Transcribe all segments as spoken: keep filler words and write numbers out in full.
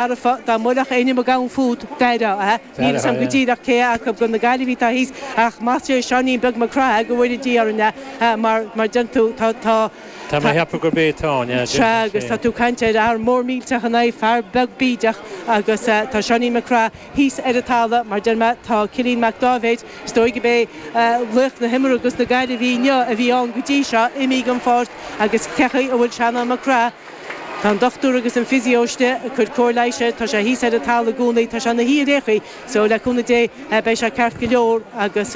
Dá mbuailfeadh éinne Mac Gabhann fút, d'éireodh, níl 'fhios a'm go díreach cé acu de na Gaillimhigh atá thíos ach más é Seáinín Beag Mac Craith go bhfóire Dia orainn é mar mar deireann tú tá tá Tá mé a cheapadh gurb é atá ann, yeah, Sea agus tá tú ag caint ar fhear mór millteach in aghaidh fear beag bídeach agus tá Seáinín Mac Craith thíos ar an talamh mar deir mé tá Cillian Mac Dáibhéid is dóigh gurb é laoch na himeartha dos na Gaillimhigh inniu a bhí ann go dtí seo imithe den pháirc agus cé chaoi a bhfuil Seanán Mac Craith Tá an dochtúir agus an physio istigh ag cur cóir leighis air, tá sé thíos ar an talamh i gcónaí, tá sé ina shuí ar aon chaoi, so le cúnamh Dé beidh sé ceart go leor agus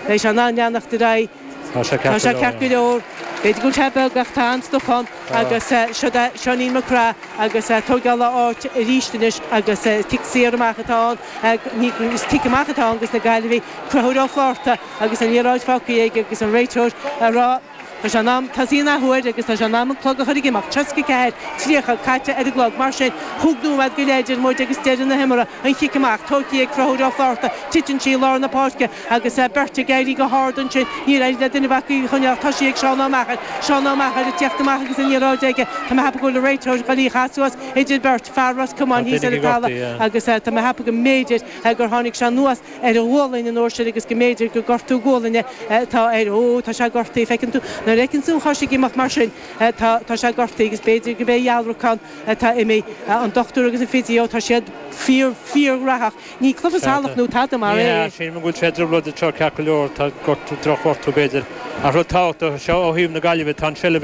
beidh sé in ann leanacht ar aghaidh. Tá sé Tá ceart sé go ceart go leor. leor. B'fhéidir go bhfuil sé beag ach tá an-stuif ann agus siod é Seáinín Mac Craith agus tógáil a áit arís anois agus cic saor amach atá ann, ní, is cic amach atá ann dos na Gaillimhigh, Conchúr Ó Flátharta agus an liathróid fágtha aige agus an réiteoir ag rá, Tá sé in am tosaí an athuair agus tá sé in am an clog a chur ag imeacht. Tríocha ceathair, tríocha caite ar an gclog. Mar sin, chúig nóiméad go leith idir muid agus deireadh na himeartha. An chic amach, tógtha ag Conchúr Ó Flátharta. Titeann sí i lár na páirce agus beirt ag éirí go hard ansin. Níor éirigh le duine acu í a choinneáil. Tá sí ag Seán Ó Meachair. Seán Ó Meachair ag tíocht amach agus an liathróid aige. Tá mé ag ceapadh go bhfuil an réiteoir ag dul í a chaitheamh suas idir beirt fear Ros Tá Comáin thíos duine ar an ag gortaithe, talamh yeah. agus tá mé ag ceapadh go mb'fhéidir gur tháinig sé anuas ar a ghualainn an uair sin agus go mb'fhéidir gur gortú gualainne atá air. Ó, tá sé gortaithe, feiceann tú, nuair a fheiceann tú an chois ag imeacht mar sin, tá, tá sé gortaithe agus b'fhéidir gurb é a dhealrachán atá imithe. An dochtúir agus an physio, tá siad fíor, fíorghnóthach. Ní cluiche Sea, salach tá. nó tada mar Ní hea, é. sílim go bhfuil sé i dtrioblóid anseo ceart go leor, tá gortú, drochghortú b'fhéidir. Ach rud tábhachtach seo ó thaobh na Gaillimhe, tá an seilbh